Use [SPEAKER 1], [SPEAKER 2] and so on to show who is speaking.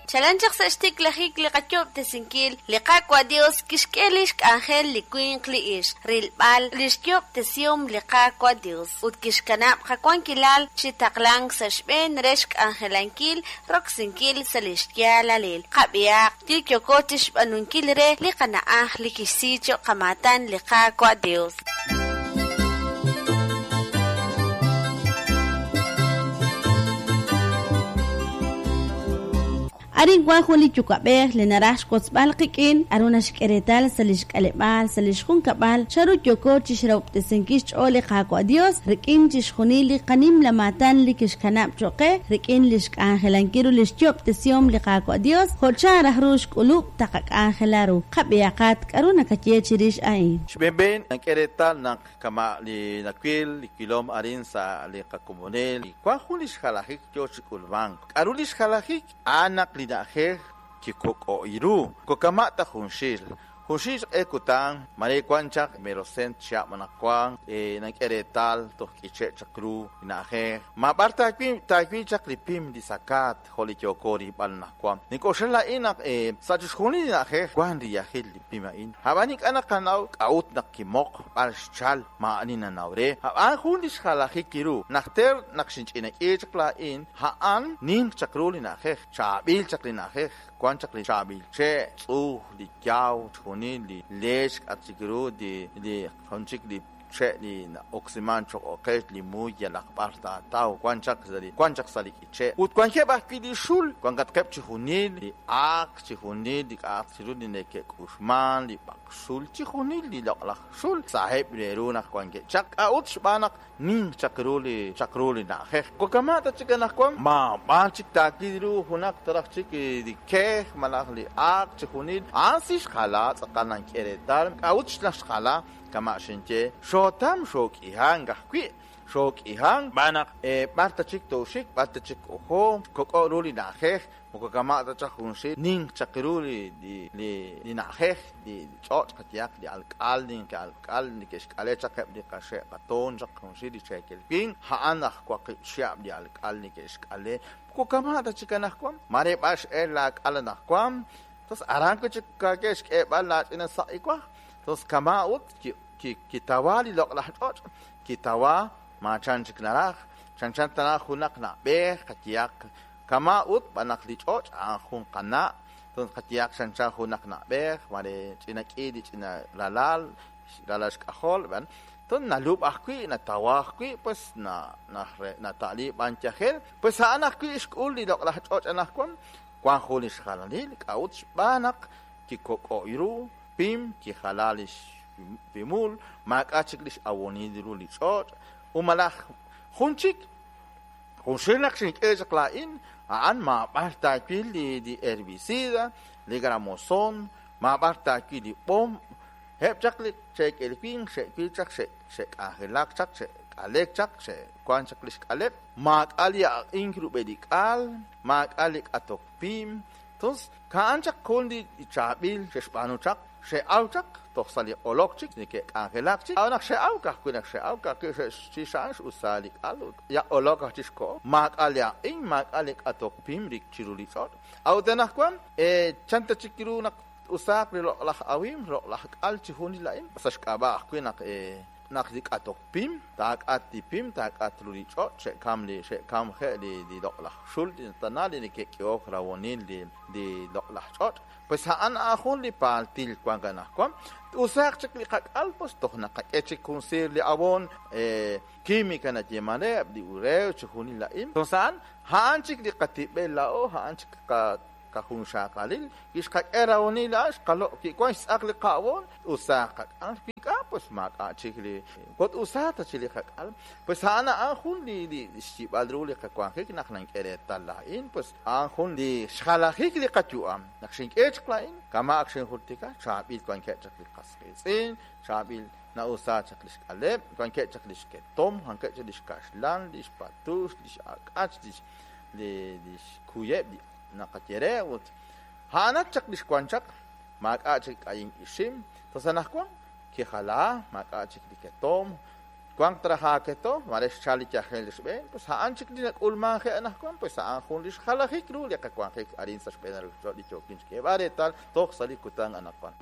[SPEAKER 1] Chalen chaq sa' xtiklajik li qayoob'tesinkil, li Qaawa' Dios kixk'e lix k'anjel li winq li ixq, rilb'al lix yoob'tesihom li Qaawa' Dios, ut kixkanab' qawankilal chi taqlank sa' xb'een re xk'anjelankil roksinkil sa' lix yaalalil. Qab'ihaq li yooko chixb'aanunkil re li qana'aj li kixsi choq' qamaatan li Qaawa' Dios.
[SPEAKER 2] Arin wan jun li yuwa'b'ej li naraj xwotzb'al qik'in k'a'ru naxk'e reetal sa' lix k'aleb'aal, sa' lix junkab'al, chanru yooko chixrahob'tesinkil xch'ool li Qaawa' Dios rik'in chixjunil li qanimla maatan li kixkanab' choq' qe rik'in lix k'anjelankil ru lix yo'ob'tesihom li Qaawa' Dios jo' chan raj ru xk'ulub' taqak'anjela ru. Qab'ihaqat k'a'ru nakaye chirix a'in.
[SPEAKER 3] Xb'een nank'e reetal naq kama' li nawil li wilom arin sa' li qakomonil, wan jun li xjalajik yoo chi k'ulmank. K'a'ru li xjalajik? A'an naq li na'ajej kikok'o'i ru, moko kama' ta junxil. Junxil xq'e kutan, mare wan chaq merosent chihab' anaqwan, nank'e reetal toj k'iche' chaq ru li na'ajej. Maab'ar taawil chaq li pim li sakaat jo' li yooko rilb'al anaqwan. Nink'oxla laa'in naq sa' chixjunil li na'ajej wan riyajil li pim a'in. A'b'an ink'a' naqanaw k'a'ut naq kimoq, b'ar xchal, maa'ani nanaw re. A'b'an jun li xjalajik ru. Najter naq xinch'inak'i chaq laa'in, a'an ninq chaq ru li na'ajej, chaab'il chaq li na'ajej, wan chaq li chaab'il che', tz'uj, li yaw, chixjunil li leech k'at chik ru, li jun chik li che' li na'oksiman choq' oqech, li muy yalaq b'ar taataw, wan chaq sa' li wan chaq sa' li k'iche'. Ut wankeb' ajwi' li xul, wankatqeb' chixjunil li aaq, chixjunil li k'a'aq chi ru li neke'k'uxman, li b'aqxul, chixjunil li loq'laj xul saheb' re ru naq wankeb' chaq. K'a'ut? Xb'aan naq ninq chaq ru li chaq ru li na'ajej. Moko kama' ta chik anaqwan, maab'ar chik taawil ru junaq taraj chik li kej malaj li aaq chixjunil. A'an si xjala tz'aqal nank'e reetal. K'a'ut naq xjala? Kama' xinye, xootam xook'ihank ajwi'. Xook'ihank xb'aan naq b'ar ta chik tooxik, b'ar ta chik ojo, kok'o' ru li na'ajej. Moko kama' ta chaq junxil, ninq chaq ru li na'ajej, li ch'och' qayehaq, li alk'al, ninqi alk'al neke'xk'ale chaq eb' li qaxe' qatoon chaq junxil li cheekel winq, a'an aj waqib' chihab' li alk'al neke'xk'ale. Moko kama' ta chik anaqwan, mare b'ar x'el laak'al anaqwan, tos aran wi' chik kaake xk'eeb'al laach'ina saq'iwaj, tos kama' ut kitawa li loq'laj ch'och', kitawa maachan chik naraj, chanchan tana junaq na'b'ej qayehaq. Kama' ut b'an naq li ch'och' a'an jun qana', toj qayehaq chanchan junaq na'b'ej, mare ch'ina k'i li ch'ina ralal, ralal xk'ajol, b'an toj nalub' ajwi', natawa ajwi', pues na, nata'li b'an yajel, pues a'an ajwi' xk'ul li loq'laj ch'och' anaqwan, wan jun li xjalanil, k'a'ut xb'aan naq kikok'o'y ru, pim, kijala lix pimul, maak'a' chik lix awonil ru li ch'och', ut malaj jun chik. Junxil naq xink'e chaq laa'in, a'an maab'ar taawil li herbicida, li gramozon, maab'ar taawil li b'om. Eb' chaq li cheekel winq xe'wil chaq xe'k'anjelak chaq, xe'k'alek chaq, xe'wank chaq li xk'aleb'. Maak'a' li aq'ink rub'el li k'al, maak'a' li k'atok pim. Tos, ka'an chaq jun li chaab'il xe'xb'aanu chaq, xe'aw chaq toj sa' li q'olok chik neke'k'anjelak chik. A'ut naq xe'aw ka'ajwi' naq xe'aw ka'ajwi' xe'xchix a'an x'usa li k'al ut yaq'olok aj chik xkoho. Maak'a' li aq'in, maak'a' li k'atok pim rik chiru li ch'och'. A'ut anaqwan, chan ta chik ru naq t-usaaq li loq'laj awimq, loq'laj k'al chi junil a'in? Sa' xk'ab'a' ajwi' naq Naq li k'atok pim, taak'at li pim, taak'at ru li ch'och', xe'kam li xe'kamje' li li loq'laj xul li tana li neke'k'ehok rawonil li li loq'laj ch'och'. Pues a'an a'an jun li paaltil wank anaqwan. T-usaaq chik li qak'al, pues toj naqak'e chik jun siir li ab'on, química nayeeman re, eb' li urew, chixjunil a'in. Entonces a'an, a'an chik li qatib'el laa'o, a'an chik qa Qajunxaqalil, wi xqak'e rahonil a'an, xqaloq' wi wank xtz'aq li qa'awon, usaaq qak'al, wi ink'a', pues maak'a' chik li moko t-usaaq ta chik li qak'al. Pues a'an a'an jun li li xyib'al ru li qawanjik naq nank'e reetal laa'in, pues a'an jun li xjalajik li qayu'am. Naq xink'e chaq laa'in, kama' ak xinjultika, chaab'il wankeb' chaq li qas qiitz'in, chaab'il na'usaak chaq li xk'aleb', wankeb' chaq li xketom, wankeb' chaq li xkaxlan, li xpatux, li x'ak'ach, li li xkuyeb' li Naqaye re ut a'anat chaq li xwank chaq, maak'a' chik k'ayink ixim, toj sa' anaqwan kijala, maak'a' chik li ketomq, Wanq traj aaketo, mare xchal li yajel xb'een, pues a'an chik li nak'ulmanje anaqwan, pues a'an jun li xjalajik ru li qawanjik arin sa' xb'een li yookin xk'eeb'al reetal toj sa' li kutan anaqwan.